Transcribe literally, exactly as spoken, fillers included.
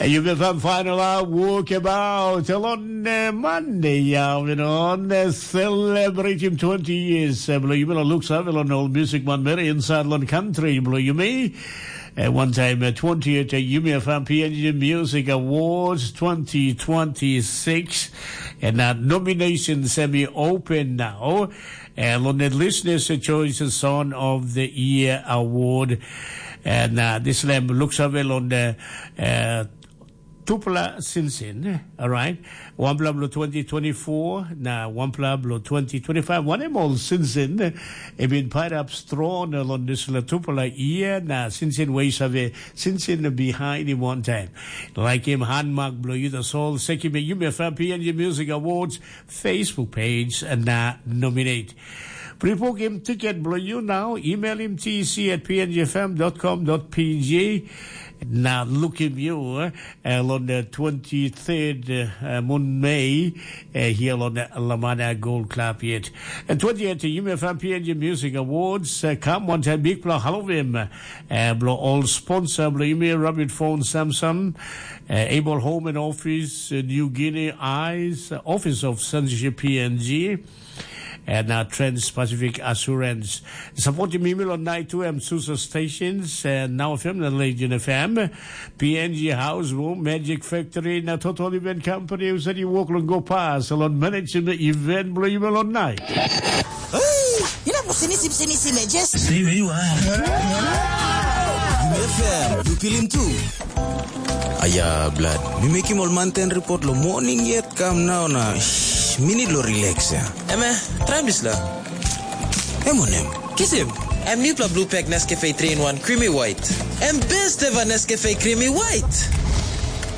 Yu bin fan final a wokabaut long Monday ya, you know, celebrating twenty years. Blo yu bin luk sa long ol music man meri inside long country blo yu mi. One time uh, twentieth uh, Yumi F M P N G Music Awards twenty twenty-six. And uh, nomination semi open now. Uh, on the Listeners' Choice Song of the Year Award. And uh, this lamb looks avail on the uh, Tupla Sinsin, all right? One blah blah twenty twenty-four, na one blah blah twenty twenty-five. One em all Sinsin, it been pied up strong on this la Tupla year, na Sinsin ways of it, Sinsin behind him one time. Like him, handmark blow you the soul, seki me you me fan P N G Music Awards, Facebook page, and na nominate. Pre-book him ticket blow you now. Email him T C at P N G F M dot com dot P G. Now look him you uh, on the twenty-third uh, moon May uh, here on the Lamana Gold Club yet. And twentieth, you may fan P N G Music Awards. Uh, come one time, big blow, hello him. Uh, blow all sponsor, blow you may Robert Phone Samson, uh, Able Home and Office, uh, New Guinea Eyes, uh, Office of Censorship P N G. And uh, Trans Pacific Assurance. Supporting me on night two M Susa stations and now F M the Legion F M, P N G House Room, Magic Factory, na Total Event Company, who said you walk on go past, salon management event, blow you on night. Hey, you know, sini sim sini sim just. Stay where you are. F M, you feel him too. Aya, blood. Mi mekim ol manten report lo morning yet kam nau na shh, mi need lo relax ya. Eme, traim dispela. Em wanem? Kisim. Em nupela blue pack Nescafe three in one creamy white. Em best ever Nescafe creamy white.